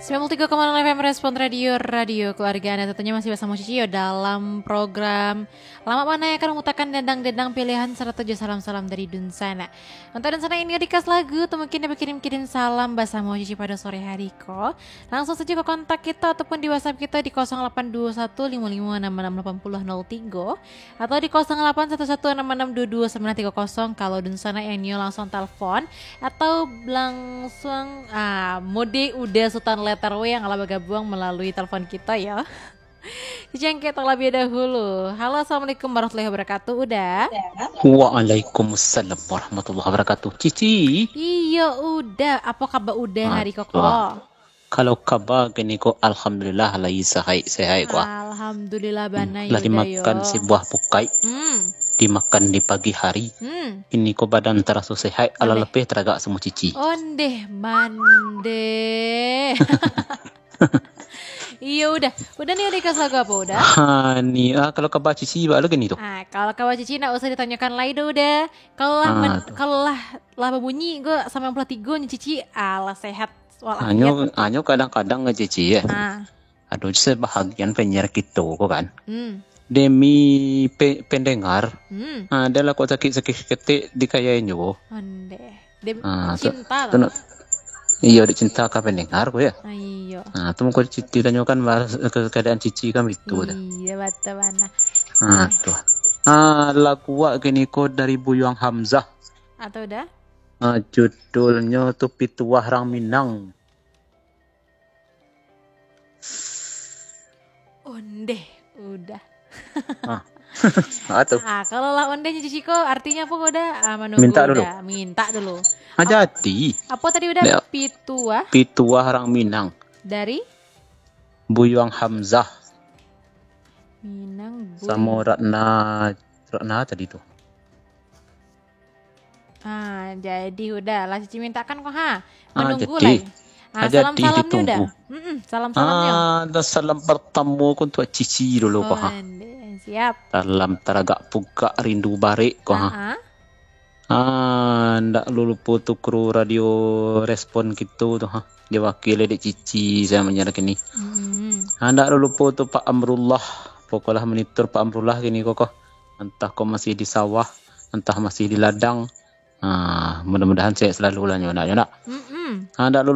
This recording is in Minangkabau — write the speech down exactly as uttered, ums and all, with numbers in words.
Sembilan puluh tiga koma nol F M Respon Radio, radio keluarga Anda. Tentunya masih basamo Cici yo dalam program Lamak Bana yang akan mamutakan dendang-dendang pilihan sarato jo salam-salam dari dunsanak. Untuak dunsanak nan ingin request lagu, atau mungkin bakirim-kirim salam basamo Cici pado sore hari ko, langsung sajo ka kontak kito ataupun di WhatsApp kito di kosong lapan dua satu limo limo anam anam lapan puluh nol tigo atau di kosong lapan satu satu anam anam dua dua sambilan tiga kosong. Kalau dunsanak yang nio langsung telepon atau langsung, ah, mode Uda Sutan Letter W yang lah bagabuang malalui telepon kito yo. Jangkek terlebih dahulu. Halo, assalamualaikum warahmatullahi wabarakatuh, Uda. Waalaikumsalam warahmatullahi wabarakatuh. Cici. Iyo, Uda. Apa kabar Uda hari ko ko? Aduh. Kalau kaba kini ko, alhamdulillah, lai sehat-sehat ko. Alhamdulillah bana yo, Uda yo. Lah dimakan si buah pukai. Hmm. Dimakan di pagi hari. Hmm. Kini ko badan taraso sehat, alah lapeh taragak samo Cici. Ondeh, mandeh. Iyo, Uda. Uda nio request lagu apa, Uda? Ha, ni, ah, kalau kaba Cici, ba lagi ni tu. Ah, kalau kaba Cici ndak usah ditanyokan lai doh, Uda. Kalau lah Ah, men-, tu. Kalau lah, lah babunyi ko sambilan puluh tigo nyo Cici, alah sehat walafiat. Hanyo, hanyo kadang-kadang nyo Cici, yo. Ah. Ado sebahagian penyiar kito ko kan. Hmm. Demi pe-, pendengar, Hmm. ah, ado lah kok sakik-sakik ketek di kayai nyo. Ondeh. Demi Ah, tu, cinta tu lah. Nak, iyo, dek cinta ka pendengar ko yo. Ah, iyo. Ah, tu mungkin Cici tanyokan bahas ke-, keadaan Cici kan itu dah. Iyo, betul bana. Ah, tu. Ah, lagu wak kini ko dari Buyuang Hamzah. Atau Uda? Ah, judulnyo tu Pituah Rang Minang. Ondeh, Uda. Ah. Ah, tu. Ah, kalau lah ondeh nyo Cici ko, artinyo apo ko, Uda? Ah, manunggu Minta dulu. Uda. Minta dulu. Ah, Ap-, jadi. Apo tadi, Uda? Nek Pituah? Pituah Rang Minang. Dari? Buyuang Hamzah. Minang Buyuang. Samo Ratna, Ratna tadi tu. Ah, jadi Uda lah Cici mintakan ko, ha. Ah, manunggu jadi. Lai. Ah, ah, jadi salam-salamnyo Uda. Ditunggu. Mm-mm, salam-salamnyo. Ah, dah salam pertamo ko untuak Cici dulu ko, ha. Ondeh, siap. Salam taragak pugak rindu barek ko, ha. Ah, ah. Ah, ndak lulupo tu kru radio Respon kito tu, ha. Diwakili dek Cici sajo manyiar kini. Mm-mm. Ah, ndak lulupo tu Pak Amrullah. Pokolah monitor Pak Amrullah kini ko, ko. Antah ko masih di sawah, antah masih di ladang. Ah, mudah-mudahan sehat selalu lah nyo nak, nyo nak. Mm-mm. Ah, ndak lulu